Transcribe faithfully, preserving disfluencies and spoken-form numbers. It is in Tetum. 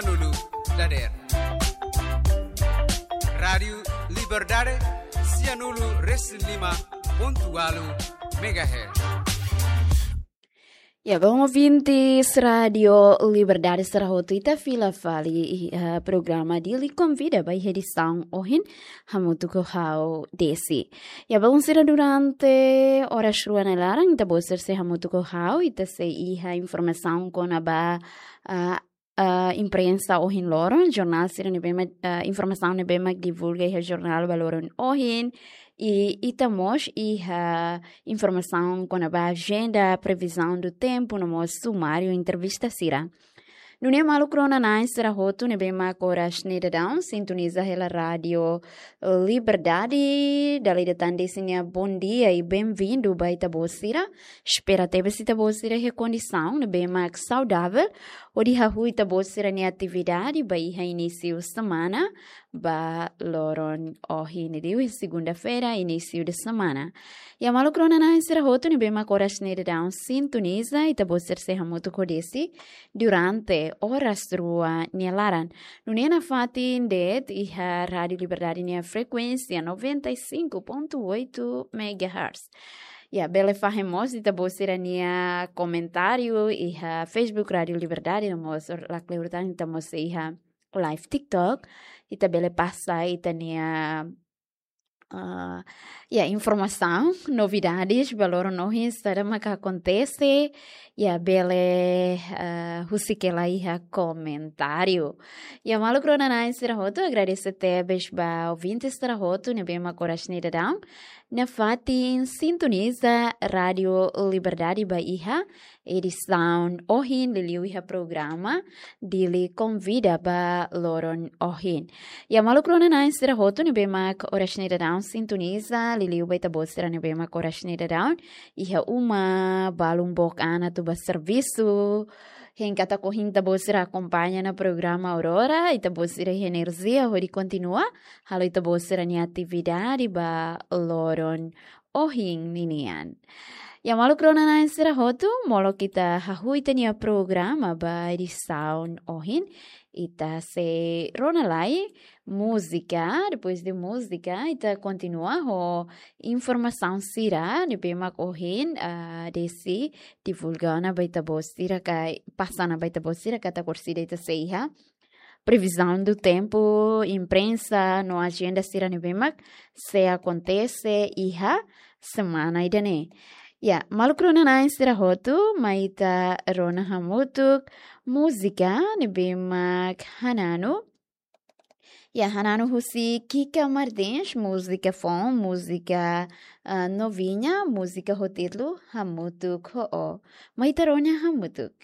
Nulu dader. Rádiu Liberdade, sianulu resin lima pontu ualu megahertz. Ya, bom ouvintes, Rádiu Liberdade sira hotu, ita fila fali, eh, programa Dili Konvida ba iha edisaun ohin, hamutuk ho ha'u Desi. Ya, bom, sira, durante oras rua nia laran, ita-boot sira sei hamutuk ho ha'u, ita sei iha informasaun kona-ba, ah, ah, imprensa ohin loron, jornál sira ne'ebé mak, ah, informasaun ne'ebé mak divulga iha jornál ba loron ohin, i ita mós iha informasaun kona-ba ajenda, previsão do tempo, no mós sumáriu entrevista sira. Nune'e maluk rona-na'in sira hotu ne'ebé mak oras ne'e daudaun sintoniza hela Rádiu Liberdade, dala ida tan Desi nia bom dia i bem-vindo ba ita-boot sira. Espera tebes ita-boot sira iha kondisaun ne'ebé mak saudavel, hodi hahú ita-boot sira-nia atividade ba iha inísiu semana, ba loron ohin ne'e, liuliu segunda-feira, inísiu de semana. Ya, maluk rona-na'in sira hotu ne'ebé mak oras ne'e daudaun sintoniza, ita-boot sira sei hamutuk ho Desi durante oras rua nia laran. Nune'e nafatin de'it iha Rádiu Liberdade nia frekuénsia noventa e cinco ponto oito megahertz. Ya, bele fahe mós ita-boot sira-nia komentáriu iha Facebook Rádiu Liberdade, no mós lakleur tan ita mós iha live TikTok, ita bele pasa ita-nia, ah, ya, informasaun, novidades ba loron ohin, saida maka akontese, ya, bele, ah, husik hela iha komentáriu. Ya, maluk rona-na'in sira hotu, agradese tebes ba ouvintes sira hotu ne'ebé mak oras ne'e daudaun nafatin sintoniza Rádiu Liberdade ba iha edisaun ohin, liuliu iha programa Dili Konvida ba loron ohin. Ya, maluk rona-na'in sira hotu ne'ebé mak oras ne'e daudaun sintoniza, liuliu ba ita-boot sira ne'ebé mak oras ne'e daudaun iha uma, balun book an atu ba servisu. Hein katak ohin ita-boot sira akompaña ona programa Aurora, ita-boot sira iha enerjia hodi kontinua halo ita-boot sira-nia atividade ba loron ohin ninian. Ya, maluk rona-na'in sira hotu, molok ita hahú ita-nia programa ba edisaun ohin, ita sei rona lai múzika, depois de múzika, ita kontinua ho informasaun sira ne'ebé mak ohin, ah, Desi divulga ona ba ita-boot sira ka, pasa ona ba ita-boot sira katak orsida ita sei iha previsão do tempo, imprensa no ajenda sira ne'ebé mak sei akontese iha semana ida-ne'e. Ya, maluk rona-na'in sira hotu, mai ita rona hamutuk múzika ne'ebé mak Hananu. Ya, Hananu husi Kika Martins, múzika foun, múzika, ah, novinha, múzika ho títulu Hamutuk ho Ó. Mai ita rona hamutuk.